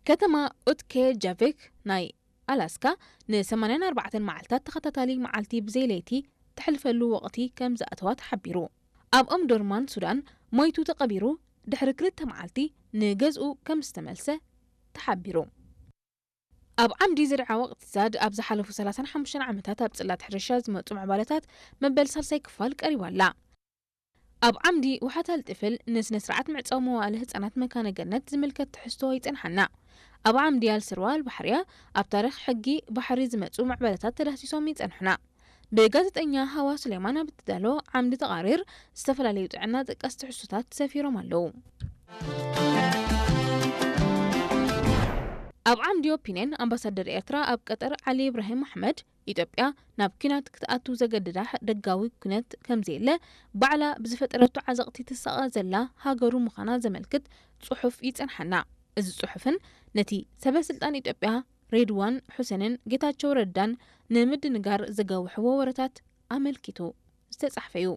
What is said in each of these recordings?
ከተማ ኡትኬ ጃቬክ ናይ ኣላስካ ን84 መዓልታት ተኸታታሊ መዓልቲ ብዘይ ለይቲ ተሕልፈሉ ወቕቲ ከም ዝኣተዋ ተሓቢሩ። ኣብ ኦምዶርማን ሱዳን ሞይቱ ተቐቢሩ፣ ድሕሪ ክልተ መዓልቲ ንገዝኡ ከም ዝተመልሰ ተሓቢሩ። ኣብ ዓምዲ ዝርዓ ወቕቲ ዛድ ኣብ ዝሓለፉ 35 ዓመታት ኣብ ጽላት ሕርሻ ዝመጹ ምዕባለታት መበል ሳልሳይ ክፋል ቀሪባ ኣላ። ኣብ ዓምዲ ውሓታል ጥፍል ንስነ ስርዓት ምዕጻው መዋእለ ህጻናት መካነ ገነት ዝምልከት ትሕዝቶ ይጸንሓና። ኣብ ዓምዲ ኣልስርዋ ኣልባሕርያ ኣብ ታሪኽ ሕጊ ባሕሪ ዝመጹ ምዕባለታት ተዳህሲሶም ይጸንሑና። ብጋዜጠኛ ሃዋ ሱሌማን ኣብ እትዳሎ ዓምዲ ተቓሪር ዝተፈላለዩ ጥዕና ጠቀስ ትሕዝቶታት ሰፊሮም ኣለዉ። ኣብ ዓምዲ ኦፒንየን ኣምባሳደር ኤርትራ ኣብ ቀጠር ዓሊ ኢብራሂም ኣሕመድ ኢትዮጵያ ናብ ኲናት ክትኣቱ ዘገድዳ ደጋዊ ኲናት ከምዘየለ ባዕላ ብዝፈጠረቶ ዓዘቕቲ ትሳቐ ዘላ ሃገሩ ምዃና ዘመልክት ጽሑፍ ይጸንሓና። እዚ ጽሑፍን ነቲ ሰበ ስልጣን ኢትዮጵያ ሬድዋን ሑሴንን ጌታቸው ረዳን ንምድንጋር ዘጋውሕዎ ወረታት ኣመልኪቱ ዝተጻሕፈ እዩ።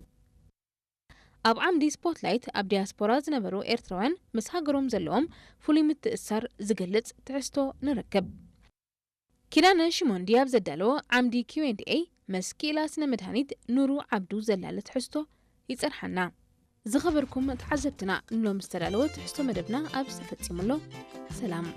ኣብ ዓምዲ ስፖትላይት ኣብ ዲያስፖራ ዝነበሩ ኤርትራውያን ምስ ሃገሮም ዘለዎም ፍሉይ ምትእስሳር ዝገልጽ ትሕዝቶ ንረክብ። ኪዳነ ሽሞንዲ ኣብ ዘዳለዎ ዓምዲ ኪው ኤንድ ኤ ምስ ክኢላ ስነ መድሃኒት ኑሩ ዓብዱ ዘላለ ትሕዝቶ ይጸንሓና። ዝኸበርኩም ተዓዘብትና፣ ንሎም ዝተዳለወ ትሕዝቶ መደብና ኣብ ዝተፈጺሙ ኣሎ። ሰላም።